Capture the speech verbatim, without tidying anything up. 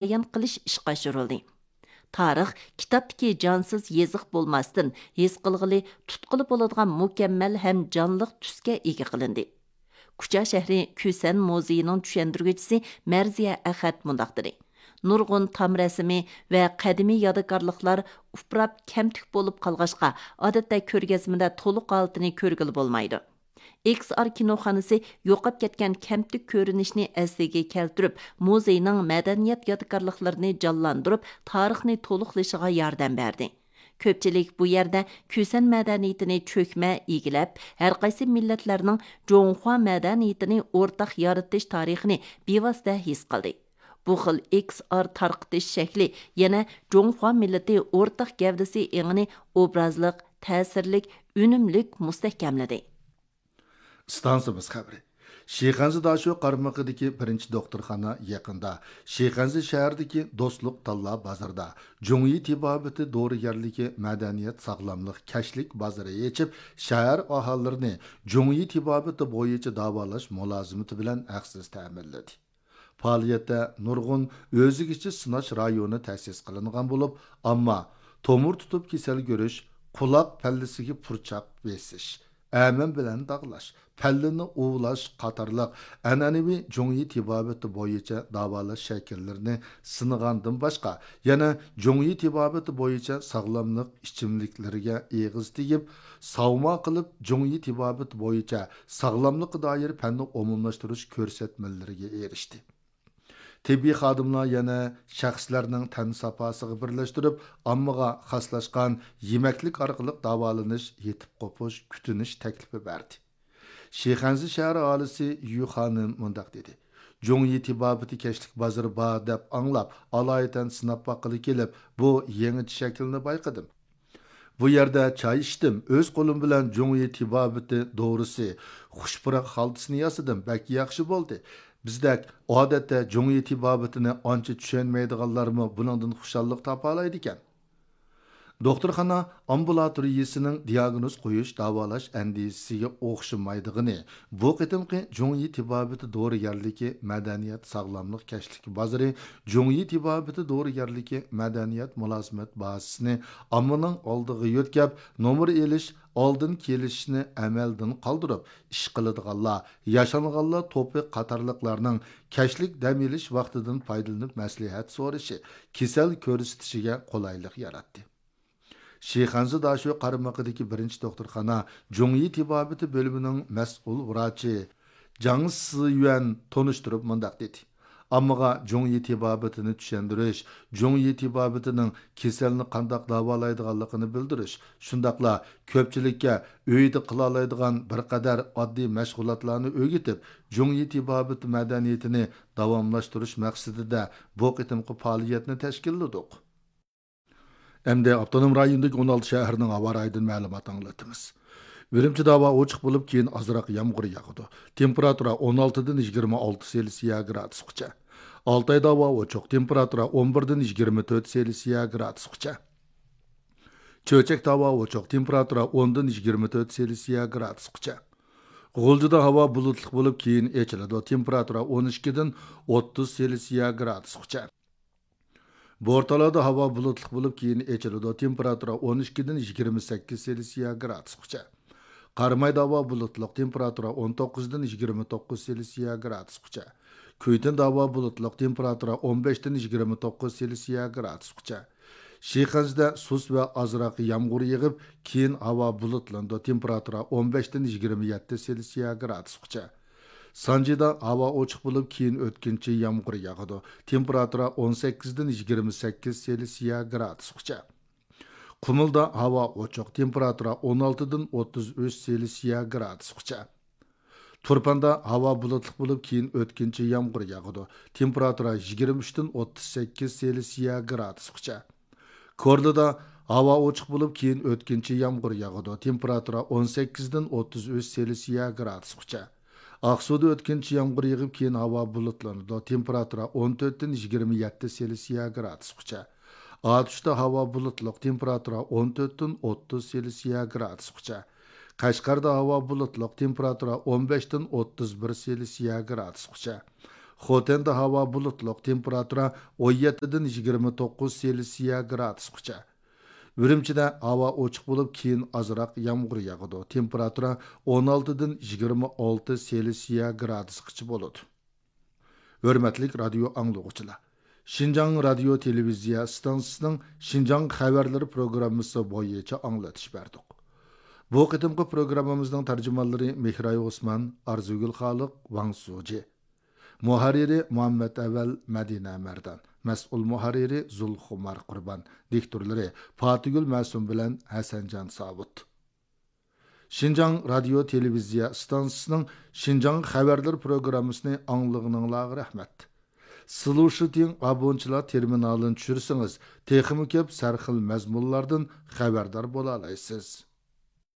بايان قىلىش ئىشقا ئاشۇرۇلدى. تارىخ كىتابتىكى جانسىز يېزىق بولماستىن، ھېس قىلغىلى، تۇتقىلى بولىدىغان مۇكەممەل ھەم جانلىق تۈسكە ئىگە قىلىندى. كۇچا شەھىرى كۈسەن مۇزېيىنىڭ چۈشەندۈرگۈچىسى مەرزىيە ئەخەت مۇنداق دېدى: نۇرغۇن تام رەسىمى ۋە قەدىمىي يادىكارلىقلار ئۇپراپ كەمتۈك بولۇپ قالغاچقا، ئادەتتە كۆرگەزمىدە تولۇق ھالىتىنى كۆرگىلى بولمايدۇ. ئېكس ئار كىنوخانىسى يوقاپ كەتكەن كەمتۈك كۆرۈنۈشنى ئەسلىگە كەلتۈرۈپ، مۇزېينىڭ مەدەنىيەت يادىكارلىقلىرىنى جانلاندۇرۇپ، تارىخنى تولۇقلىشىغا ياردەم بەردى. كۆپچىلىك بۇ يەردە كۈسەن مەدەنىيىتىنى چۆكمە ئىگىلەپ، ھەرقايسى مىللەتلەرنىڭ جۇڭخۇا مەدەنىيىتىنى ئورتاق يارىتىش تارىخىنى بىۋاسىتە ھېس قىلدى. بۇ خىل ئېكس ئار تارقىتىش شەكلى يەنە جۇڭخۇا مىللىتى ئورتاق گەۋدىسى ئېڭىنى ئوبرازلىق، تەسىرلىك، ئۈنۈملۈك مۇستەھكەملىدى. ئىستانسىمىز خەۋىرى. شىخەنزە داشۆ قارمىقىدىكى بىرىنچى دوختۇرخانا يېقىندا شىخەنزە شەھىرىدىكى دوستلۇق تاللا بازىرىدا جۇڭيى تېبابىتى دورىگەرلىكى مەدەنىيەت ساغلاملىق كەچلىك بازىرى ئېچىپ، شەھەر ئاھالىلىرىنى جۇڭيى تېبابىتى بويىچە داۋالاش مۇلازىمىتى بىلەن ھەقسىز تەمىنلىدى. پائالىيەتتە نۇرغۇن ئۆزىگىچە سىناش رايونى تەسىس قىلىنغان بولۇپ، ئامما تومۇر تۇتۇپ كېسەل كۆرۈش، قۇلاق پەللىسىگە پۇرچاق بېسىش، ئەمەن بىلەن داغلاش، پەللىنى ئۇۋۇلاش قاتارلىق ئەنئەنىۋى جۇڭيى تېبابىتى بويىچە داۋالاش شەكىللىرىنى سىنىغاندىن باشقا، يەنە جۇڭيى تېبابىتى بويىچە ساغلاملىق ئىچىملىكلىرىگە ئېغىز تېگىپ، ساۋما قىلىپ، جۇڭيى تېبابىتى بويىچە ساغلاملىققا دائىر پەننى ئومۇملاشتۇرۇش كۆرسەتمىلىرىگە ئېرىشتى. تېببىي خادىملار يەنە شەخسلەرنىڭ تەن ساپاسىغا بىرلەشتۈرۈپ، ئاممىغا خاسلاشقان يېمەكلىك ئارقىلىق داۋالىنىش، يېتىپ قوپۇش، كۈتۈنۈش تەكلىپى بەردى. شىخەنزە شەھەر ئاھالىسى يۈ خانىم مۇنداق دېدى: جۇڭيى تېبابىتى كەچلىك بازىرى بار دەپ ئاڭلاپ، ئالايىتەن سىناپ باققىلى كېلىپ، بۇ يېڭىچە شەكىلنى بايقىدىم. بۇ يەردە چاي ئىچتىم، ئۆز قولۇم بىلەن جۇڭيى تېبابىتى دورىسى، خۇش پۇراق خالتىسىنى ياسىدىم، بەك ياخشى بولدى. بىزدەك ئادەتتە جۇڭيى تېبابىتىنى ئانچە چۈشەنمەيدىغانلارمۇ بۇنىڭدىن خۇشاللىق تاپالايدىكەن. دوختۇرخانا ئامبۇلاتورىيىسىنىڭ دىياگنوز قويۇش، داۋالاش ئەندىزىسىگە ئوخشىمايدىغىنى، بۇ قېتىمقى جۇڭيى تېبابىتى دورىگەرلىكى مەدەنىيەت ساغلاملىق كەچلىكى بازىرى جۇڭيى تېبابىتى دورىگەرلىكى مەدەنىيەت مۇلازىمەت بازىسىنى ئاممىنىڭ ئالدىغا يۆتكەپ، نومۇر ئېلىش، ئالدىن كېلىشىشنى ئەمەلدىن قالدۇرۇپ، ئىش قىلىدىغانلار، ياشانغانلار توپى قاتارلىقلارنىڭ كەچلىك دەم ئېلىش ۋاقتىدىن پايدىلىنىپ مەسلىھەت سورىشى، كېسەل كۆرسىتىشىگە قولايلىق ياراتتى. شىخەنزە داشۆ قارمىقىدىكى بىرىنچى دوختۇرخانا جۇڭيى تېبابىتى بۆلۈمىنىڭ مەسئۇل ۋراچى جاڭ سىيۈەن تونۇشتۇرۇپ مۇنداق دېدى: ئاممىغا جۇڭيى تېبابىتىنى چۈشەندۈرۈش، جۇڭيى تېبابىتىنىڭ كېسەلنى قانداق داۋالايدىغانلىقىنى بىلدۈرۈش، شۇنداقلا كۆپچىلىككە ئۆيدە قىلالايدىغان بىر قەدەر ئاددىي مەشغۇلاتلارنى ئۆگىتىپ، جۇڭيى تېبابىتى مەدەنىيىتىنى داۋاملاشتۇرۇش مەقسىتىدە بۇ قېتىمقى پائالىيەتنى تەشكىللىدۇق. ئەمدى ئاپتونوم رايوندىكى ئون ئالتە شەھەرنىڭ ھاۋا رايىدىن مەلۇمات ئاڭلىتىمىز. ئۈرۈمچىدە ھاۋا ئوچۇق بولۇپ، كېيىن ئازراق يامغۇر ياغىدۇ. تېمپېراتۇرا ئون ئالتىدىن يىگىرمە ئالتە سېلسىيە گرادۇسقىچە. ئالتايدا ھاۋا ئوچۇق، تېمپېراتۇرا ئون بىردىن يىگىرمە تۆت سېلسىيە گرادۇسقىچە. چۆچەكتە ھاۋا ئوچۇق، تېمپېراتۇرا ئوندىن يىگىرمە تۆت سېلسىيە گرادۇسقىچە. غۇلجىدا ھاۋا بۇلۇتلۇق بولۇپ، كېيىن ئېچىلىدۇ، تېمپېراتۇرا ئون ئىككىدىن ئوتتۇز سېلسىيە گرادۇسقىچە. بورتالادا ھاۋا بۇلۇتلۇق بولۇپ، كېيىن ئېچىلىدۇ. تېمپېراتۇرا ئون ئىككىدىن يىگىرمە سەككىز سېلسىيە گرادۇسقىچە. قارامايدا ھاۋا بۇلۇتلۇق، تېمپېراتۇرا ئون توققۇزدىن يىگىرمە توققۇز سېلسىيە گرادۇسقىچە. كۈيتۈندە ھاۋا بۇلۇتلۇق، تېمپېراتۇرا ئون بەشتىن يىگىرمە توققۇز سېلسىيە گرادۇسقىچە. شىخەنزىدە سۇس ۋە ئازراق يامغۇر يېغىپ، كېيىن ھاۋا بۇلۇتلىنىدۇ، تېمپېراتۇرا ئون بەشتىن يىگىرمە يەتتە سېلسىيە گرادۇسقىچە. سانجىدا ھاۋا ئوچۇق بولۇپ، كېيىن ئۆتكۈنچى يامغۇر ياغىدۇ. تېمپېراتۇرا ئون سەككىزدىن يىگىرمە سەككىز سېلسىيە گرادۇسقىچە. قۇمۇلدا ھاۋا ئوچۇق، تېمپېراتۇرا ئون ئالتىدىن ئوتتۇز ئۈچ سېلسىيە گرادۇسقىچە. تۇرپاندا ھاۋا بۇلۇتلۇق بولۇپ، كېيىن ئۆتكۈنچى يامغۇر ياغىدۇ. تېمپېراتۇرا يىگىرمە ئۈچتىن ئوتتۇز سەككىز سېلسىيە گرادۇسقىچە. كورلىدا ھاۋا ئوچۇق بولۇپ، كېيىن ئۆتكۈنچى يامغۇر ياغىدۇ. تېمپېراتۇرا ئون سەككىزدىن ئوتتۇز ئۈچ سېلسىيە گرادۇسقىچە. ئاقسۇدا ئۆتكۈنچى يامغۇر يېغىپ، كېيىن ھاۋا بۇلۇتلىنىدۇ. تېمپېراتۇرا ئون تۆتتىن يىگىرمە يەتتە سېلسىيە گرادۇسقىچە. ئاتۇشتا ھاۋا بۇلۇتلۇق، تېمپېراتۇرا ئون تۆتتىن ئوتتۇز سېلسىيە گرادۇسقىچە. قەشقەردە ھاۋا بۇلۇتلۇق، تېمپېراتۇرا ئون بەشتىن ئوتتۇز بىر سېلسىيە گرادۇسقىچە. خوتەندە ھاۋا بۇلۇتلۇق، تېمپېراتۇرا ئون يەتتىدىن يىگىرمە توققۇز سېلسىيە گرادۇسقىچە. ئۈرۈمچىدە ھاۋا ئوچۇق بولۇپ، كېيىن ئازراق يامغۇر ياغىدۇ. تېمپېراتۇرا ئون ئالتىدىن يىگىرمە ئالتە سېلسىيە گرادۇسقىچە بولىدۇ. ھۆرمەتلىك رادىيو ئاڭلىغۇچىلار! شىنجاڭ رادىيو تېلېۋىزىيە ئىستانسىسىنىڭ شىنجاڭ خەۋەرلىرى پروگراممىسى بويىچە ئاڭلىتىش بەردۇق. بۇ قېتىمقى پروگراممىمىزنىڭ تەرجىمانلىرى مېھراي ئوسمان، ئارزۇگۈل خالىق، ۋاڭ سۇجى. مۇھەررىرى مۇھەممەت ئەۋەل، مەدىنە مەردان. مەسئۇل مۇھەررىرى زۇلخۇمار قۇربان. دىكتورلىرى پاتىگۈل مەسۇم بىلەن ھەسەنجان ساۋۇت. شىنجاڭ رادىيو تېلېۋىزىيە ئىستانسىسىنىڭ شىنجاڭ خەۋەرلىرى پروگراممىسىنى ئاڭلىغىنىڭلارغا رەھمەت. سلۇشىتىڭ ئابونچىلار تېرمىنالىنى چۈشۈرسىڭىز، تېخىمۇ كۆپ سەرخىل مەزمۇنلاردىن خەۋەردار بولالايسىز.